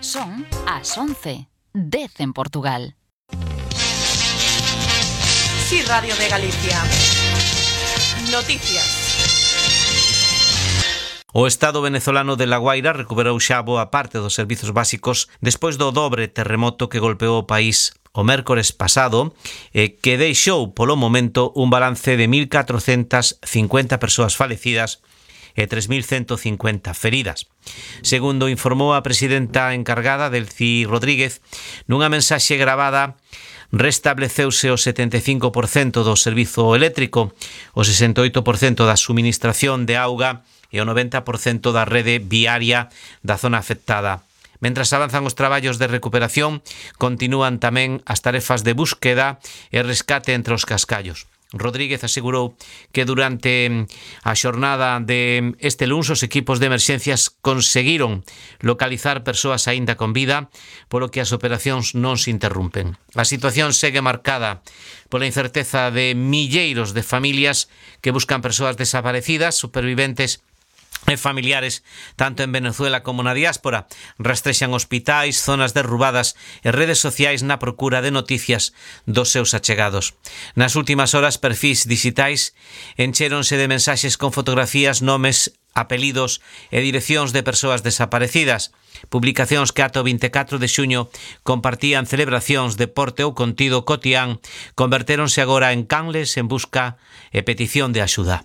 Son as 11, 10 en Portugal. Sí, Radio de Galicia. Noticias. O Estado venezolano de La Guaira recuperou xa boa parte dos servizos básicos despois do dobre terremoto que golpeou o país o mércores pasado, que deixou polo momento un balance de 1.450 persoas falecidas e 3.150 feridas. Segundo informou a presidenta encargada, Delcy Rodríguez, nunha mensaxe gravada, restableceuse o 75% do servizo eléctrico, o 68% da suministración de auga e o 90% da rede viaria da zona afectada. Mentras avanzan os traballos de recuperación, continúan tamén as tarefas de búsqueda e rescate entre os cascallos. Rodríguez asegurou que durante a xornada de este luns os equipos de emerxencias conseguiron localizar persoas aínda con vida, polo que as operacións non se interrumpen. A situación segue marcada pola incerteza de milleiros de familias que buscan persoas desaparecidas, superviventes e familiares, tanto en Venezuela como na diáspora. Rastrexan hospitais, zonas derrubadas e redes sociais na procura de noticias dos seus achegados. Nas últimas horas, perfis digitais enchéronse de mensaxes con fotografías, nomes, apelidos e direccións de persoas desaparecidas. Publicacións que ata o 24 de xuño compartían celebracións, deporte ou contido cotián convertéronse agora en canles en busca e petición de axuda.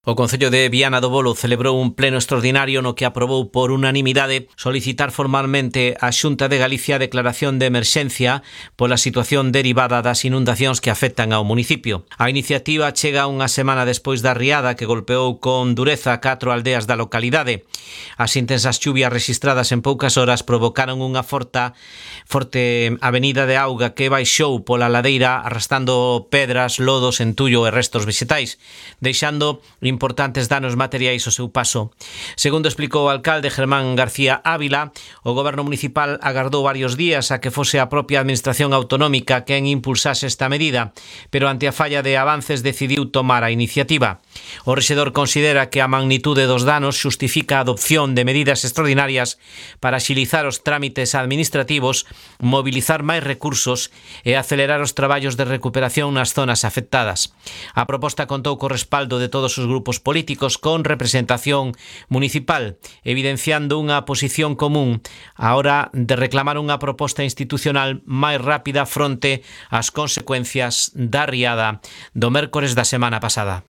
O Concello de Viana do Bolo celebrou un pleno extraordinario no que aprobou por unanimidade solicitar formalmente á Xunta de Galicia a declaración de emerxencia pola situación derivada das inundacións que afectan ao municipio. A iniciativa chega unha semana despois da riada que golpeou con dureza 4 aldeas da localidade. As intensas chuvias rexistradas en poucas horas provocaron unha forte avenida de auga que baixou pola ladeira arrastando pedras, lodos, entullo e restos vegetais, deixando importantes danos materiais ao seu paso. Segundo explicou o alcalde Germán García Ávila, o goberno municipal agardou varios días a que fose a propia administración autonómica quen impulsase esta medida, pero ante a falla de avances decidiu tomar a iniciativa. O rexedor considera que a magnitude dos danos xustifica a adopción de medidas extraordinarias para axilizar os trámites administrativos, mobilizar máis recursos e acelerar os traballos de recuperación nas zonas afectadas. A proposta contou co respaldo de todos os grupos políticos con representación municipal, evidenciando unha posición común á hora de reclamar unha proposta institucional máis rápida fronte ás consecuencias da riada do mércores da semana pasada.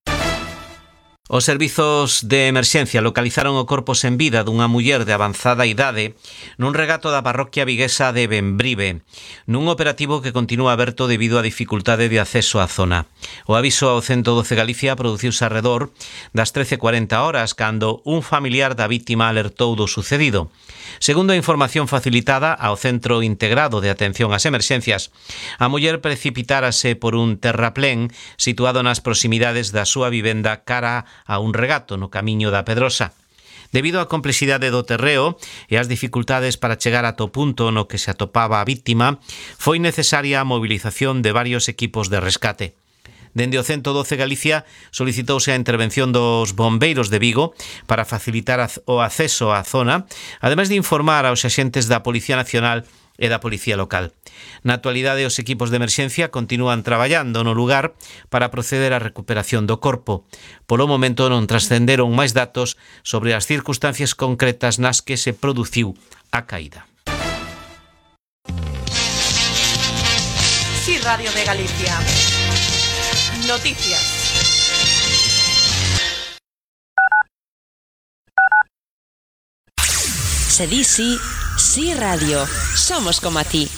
Os servizos de emerxencia localizaron o corpo sen vida dunha muller de avanzada idade nun regato da parroquia viguesa de Bembrive, nun operativo que continúa aberto debido á dificultade de acceso á zona. O aviso ao 112 Galicia produciuse arredor das 13:40 horas cando un familiar da vítima alertou do sucedido. Segundo a información facilitada ao Centro Integrado de Atención ás Emerxencias, a muller precipitárase por un terraplén situado nas proximidades da súa vivenda cara a un regato no camiño da Pedrosa. Debido á complexidade do terreo e ás dificultades para chegar ata o punto no que se atopaba a vítima, foi necesaria a movilización de varios equipos de rescate. Dende o 112 Galicia solicitouse a intervención dos bombeiros de Vigo para facilitar o acceso á zona, ademais de informar aos axentes da Policía Nacional e da Policía Local. Na actualidade, os equipos de emerxencia continúan traballando no lugar para proceder á recuperación do corpo. Polo momento non trascenderon máis datos sobre as circunstancias concretas nas que se produciu a caída. Sí, Radio de Galicia. Noticias. Se di sí, sí radio. Somos como a ti.